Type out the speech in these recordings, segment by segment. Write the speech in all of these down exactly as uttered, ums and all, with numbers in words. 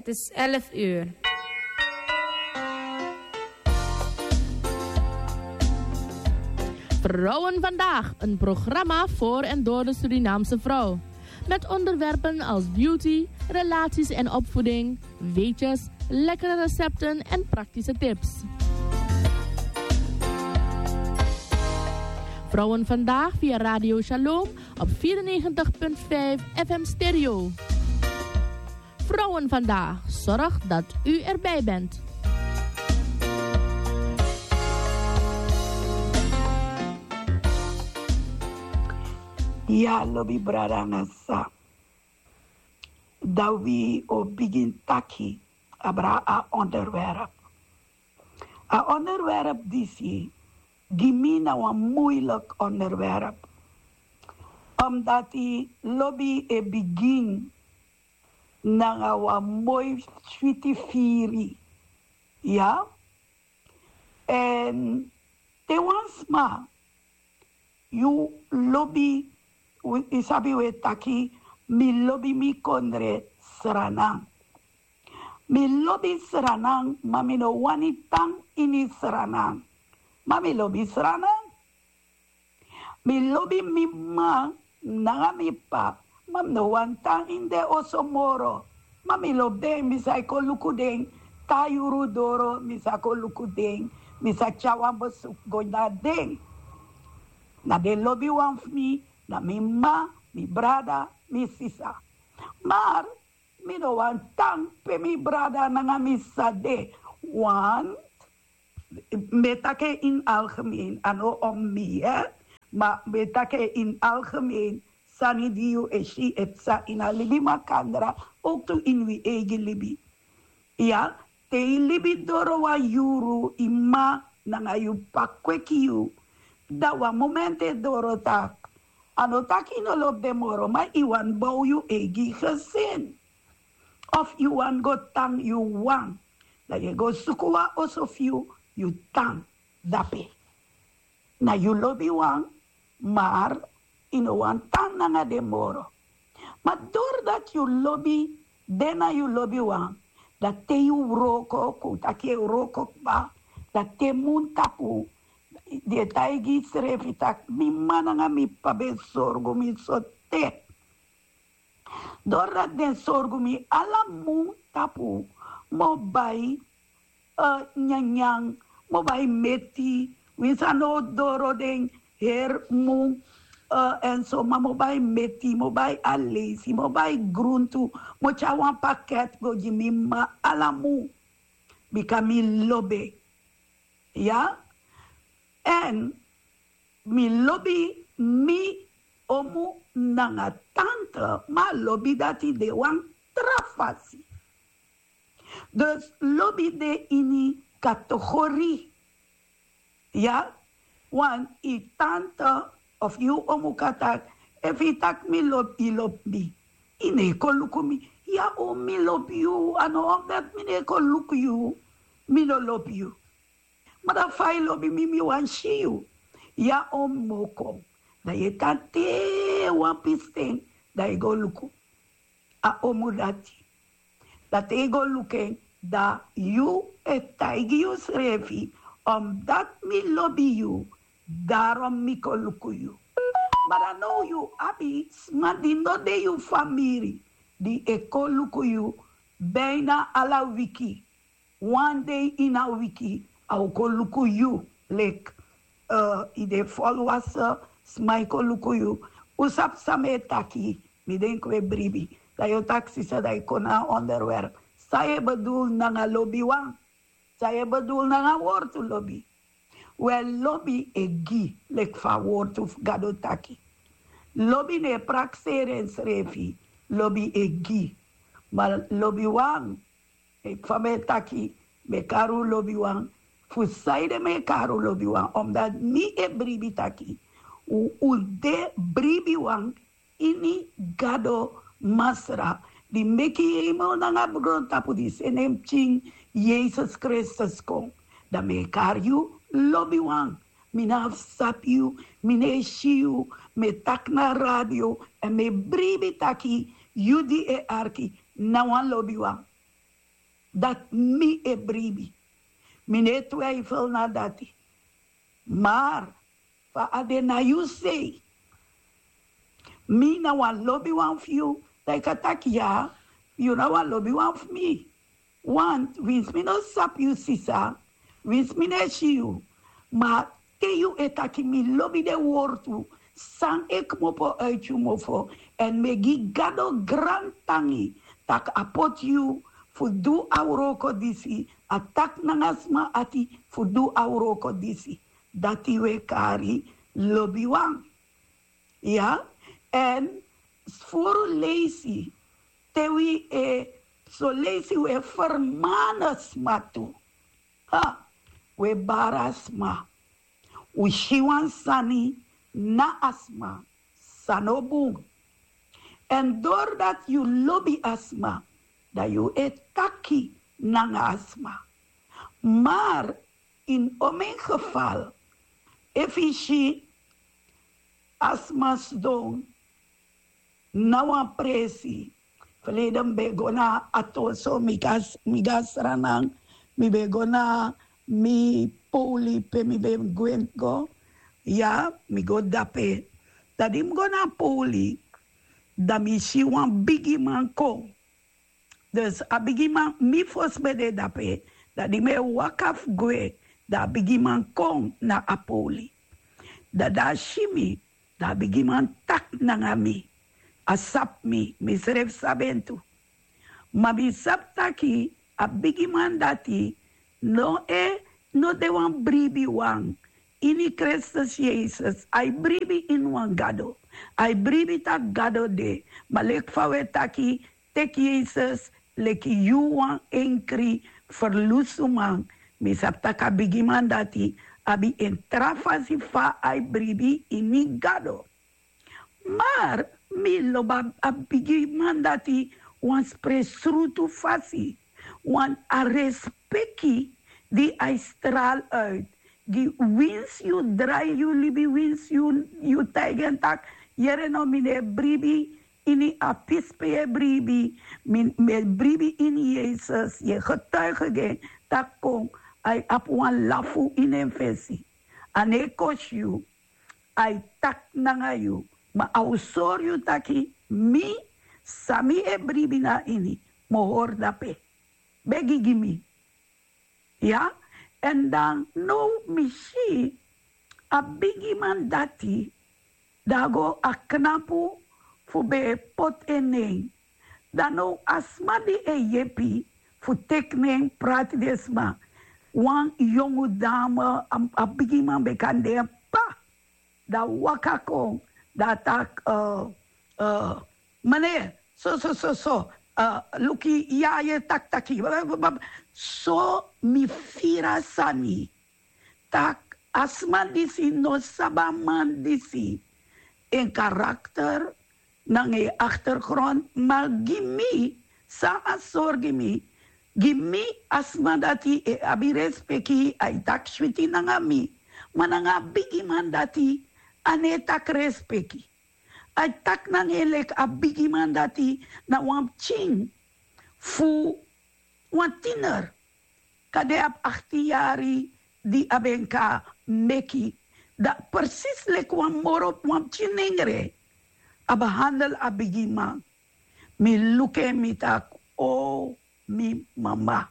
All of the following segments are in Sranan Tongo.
Het is elf uur. Vrouwen vandaag, een programma voor en door de Surinaamse vrouw. Met onderwerpen als beauty, relaties en opvoeding, weetjes, lekkere recepten en praktische tips. Vrouwen vandaag via Radio Shalom op vierennegentig punt vijf F M Stereo. Vrouwen vandaag, zorg dat u erbij bent. Ya, lobi brada nanga sisa. Dan wi o bigin taki abra a onderwerp. A onderwerp disi gi mi na wan moeilijk onderwerp. Omdat lobi e bigin nanga wan moi switi firi. Ya. En te wan sma yu lobi, yu sabi we taki mi lobi mi kondre sranan. Mi lobi sranan, ma mi no wani tan ini sranan. Ma mi lobi sranan. Mi lobi mi mma nanga mi p'pa, ma mi no wani tan ini den oso moro. Ma mi lobi den, mi sa e kon luku den. Te a yuru doro mi sa kon luku den. Mi sa tyari wan besuku go na den. Na den lobiwan fu mi, na mi mma, mi brada, mi sisa. Mar mi no wani tan pe mi brada nanga mi sisa de. Want mi e taki en ini algemeen, a no om mi, ma mi e taki en ini algemeen. Sani di yu e si e psa ini a libi makandra, ook tu ini wi eigi libi. Ya. Te yu libi doro wan yuru, yu mma nanga yu p'pa kweki yu, dan wan momenti e doro taki a no taki yu no lobi den moro, ma yu wani bow yu eigi gesin. Of yu wani go tan yu wan, dan yu e go suku wan oso fu yu, yu tan dape. Na yu lobiwan, mar yu no wani tan nanga den moro. Ma dori dati yu lobi den na yu lobiwan, dan te yu wroko, kon un taki e wroko kba, dan te mun tapu, di e taigi yusrefi tak' mi mma nanga mi p'pa ben sorgu mi sote. Dori dati den sorgu mi ala mun tapu, mi o bai nyanyan, mi o bai meti, winsi a no o doro den heri mun. Èn so ma mi o bai meti, mi o bai aleisi, mi o bai gruntu, mi o tyari wan paket go gi mi mma ala mun. Bika mi lobi en. Ya. Èn mi lobi mi omu nanga tante, ma a lobi dati de wan tra fasi. Dus lobi de ini kategori. Ya. Wan yu tante of yu omu kan taki, efu yu taki mi lobi, yu lobi mi, yu no e kon luku mi. Ya omu, mi lobi yu, a no omdati mi no e kon luku yu, mi no lobi yu. Ma dan fa yu lobi mi, mi wani si yu. Ya omu, mi o kon. Dan yu e tan te wan pisten, dan yu go luku a omu dati. Dan te yu go luku en, dan yu e taigi yusrefi, omdati mi lobi yu, darom mi kon luku yu. Ma dan now yu abi sma di no de yu famiri, di e kon luku yu bijna ala wiki. Wan dei ini a wiki a o kon luku yu. Leki yu de folwase sma e kon luku yu. Un sabi san mi e taki? Mi denki un e bribi. Dan yu o taki sisa, dan yu kon na a onderwerp. San yu e bedul nanga lobiwan? San yu e bedul nanga wortu lobi? Wel, lobi e gi, leki fa a wortu fu Gado taki. Lobi no e prakseri ensrefi. Lobi e gi. Ma lobiwan, fa mi e taki, mi e kari un lobiwan. Fu sanede mi e kari un lobiwan? Omdati mi e bribi taki un de bribiwan ini Gado Masra, di meki hemel nanga grontapu, di seni en pikin Yesus Kristus kon. Dan mi e kari yu lobiwan. Mi no abi sabi yu, mi no e si yu, mi e taki na radio, èn mi e bribi taki yu di e arki na wan lobiwan. dati mi e bribi. Mi no e twijfel na dati. Maar fa a de na yu sei, mi na wan lobiwan fu yu, dan yu kan taki ya, yu na wan lobiwan fu mi. Want winsi mi no sabi yu sisa, winsi mi no e si yu, ma te yu e taki mi lobi den wortu san e kmopo uiti yu mofo, èn mi e gi Gado grantangi tak' a poti yu fu du a wroko disi, a taki nanga sma ati fu du a wroko disi. Dati wi e kari lobiwan. Ya, èn furu leisi, te wi e, so leisi wi e fermani sma tu. Ha, wi e bari a sma. Wi si wan sani na a sma san no bun. Èn dori dati yu lobi a sma, dan yu e taki nanga a sma. Maar in omen gefal, efu yu si a sma sidon na wan presi. Verleden mi ben go na Atonso, mi go na Sranan, mi ben go na mi poli pe mi ben gwe go. Ya, mi go dape. Dan di mi go na poli, dan mi si wan bigiman kon. Dus a bigiman, mi fosi ben de dape, dan di mi e waka fu gwe, dan a bigiman kon na a poli. Dan a si mi, dan a bigiman taki nanga mi. A sabi mi, mi srefi sabi en tu. Ma mi sabi taki a bigiman dati no e, no de wan bribiwan ini Kristus Yesus. A e bribi ini wan Gado. A e bribi tak' Gado de. Ma leki fa wi e taki, teki Yesus leki yu wan enkri ferlusuman. Mi sabi tak' a bigiman dati abi en tra fasi fa a e bribi ini Gado. Maar mi lobi a bigiman dati wan spre srutu fasi, wan a respeki di a e stral uit. Gi winsi yu drai yu libi, winsi yu, yu taigi en tak', yere no, mi no e bribi ini a pisi pe yu e bribi, mi, mi e bribi ini Yesus, yu e getuigi gi en tak' kon, a e abi wan lafu ini en fesi. A no e kosi yu, a e taki nanga yu, ma a o sori yu taki mi, san mi e bribi na ini, mi o hori dape. Begi gi mi. Ya, èn dan now mi si a bigiman dati, dan a go a knapu fu ben poti en nen. Dan now a sma di e yepi fu teki nen prati den sma, wan yongu dame, a, a bigiman ben kan de en p'pa. Dan a waka kon, dan a taki, eh, eh, meneer, so, so, so, so, eh, luku ya, yu e taki taki. So mi firi a sani tak' a sma disi no sabi a man disi, en karakter nanga en achtergrond, ma gi mi, san a sori gi mi, gi mi a sma dati e abi respeki, a e taki switi nanga mi, ma nanga a bigiman dati a no e taki respeki. A e taki nanga en leki a bigiman dati na wan pikin fu wan tiener. Kande a abi achttien yari di a ben kan meki, dan precies leki wan moro, wan pikin nengre a behandel a bigiman. Mi luku en, mi taki, o, mi mama.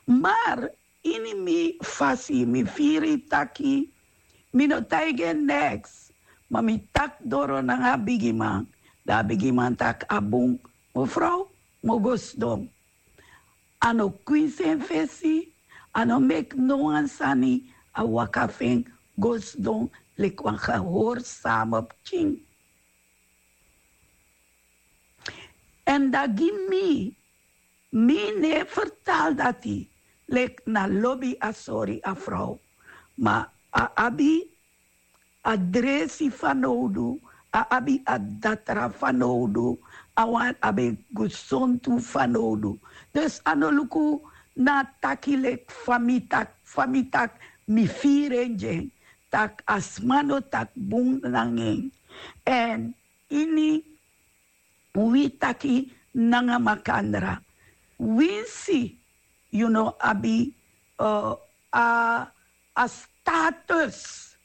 Maar ini mi fasi, mi firi taki mi no taigi en neks, ma mi taki doro nanga a bigiman. Dan a bigiman taki, a bun, mevrouw, mi o go sidon. A no kwinsi en fesi, a no meki no wan sani, a waka fu en go sidon leki wan gehorsame pikin. Èn dan gi mi, mi no e fertali dati leki na lobi a sori a frow. Ma a abi a dresi fanowdu, a abi a datra fanowdu, a wani abi gesontu fanowdu. Dus a no luku na taki leki fa mi taki, fa mi taki, mi firi en gi en, tak' a sma no taki bun nanga en. Èn ini wi taki nanga makandra, winsi yu no abi a status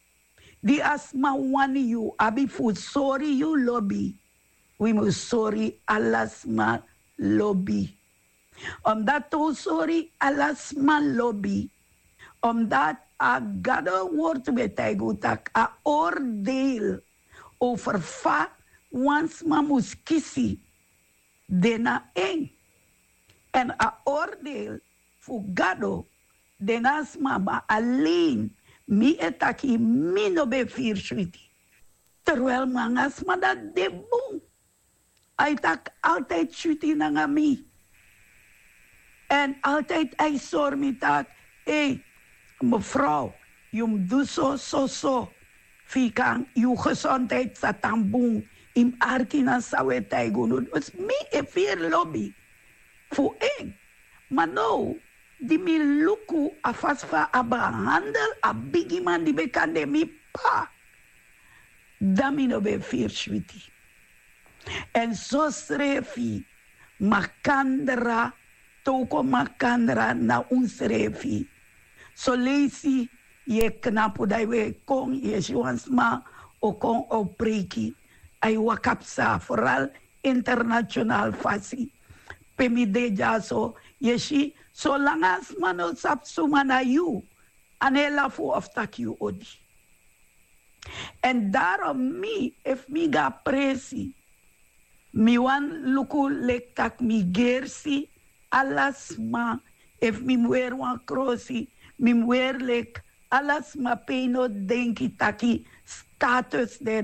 di a sma wani yu abi fu sori yu lobi. Wi mus sori ala sma lobi. Omdat un sori ala sma lobi, omdat a gado wortu ben taigi un tak' a oordeel over fa wan sma mus kisi de na en. Èn a oordeel fu gado de na a sma. Ma alen mi e taki, mi no ben firi switi. Terwijl mi nanga a sma dati de bun. A e taki altijd switi nanga mi. Èn altijd a e sori mi taki, ei, mevrouw, yu mus du so so so, fu yu kan yu gesondheid sa tan bun. Yu mus arki na san un e taigi unu. Dus mi e firi lobi fu en. Ma now di mi luku a fasi fa a behandel a bigiman di ben kan de mi p'pa, dan mi no ben firi switi. Èn sosrefi makandra, te un kon makandra na unsrefi. Soleisi yu e knapu dan yu e kon yu e si wan sma o kon o preiki. A e waka psa foral international fasi. Pe mi de dyaso yu e si solanga a sma no sabi suma na yu, a no e lafu of taki yu odi. Èn darom mi efu mi go na presi, mi wani luku leki tak' mi gersi ala sma. Efu mi mus weri wan krosi, mi mus weri leki ala sma pe yu no denki taki status de.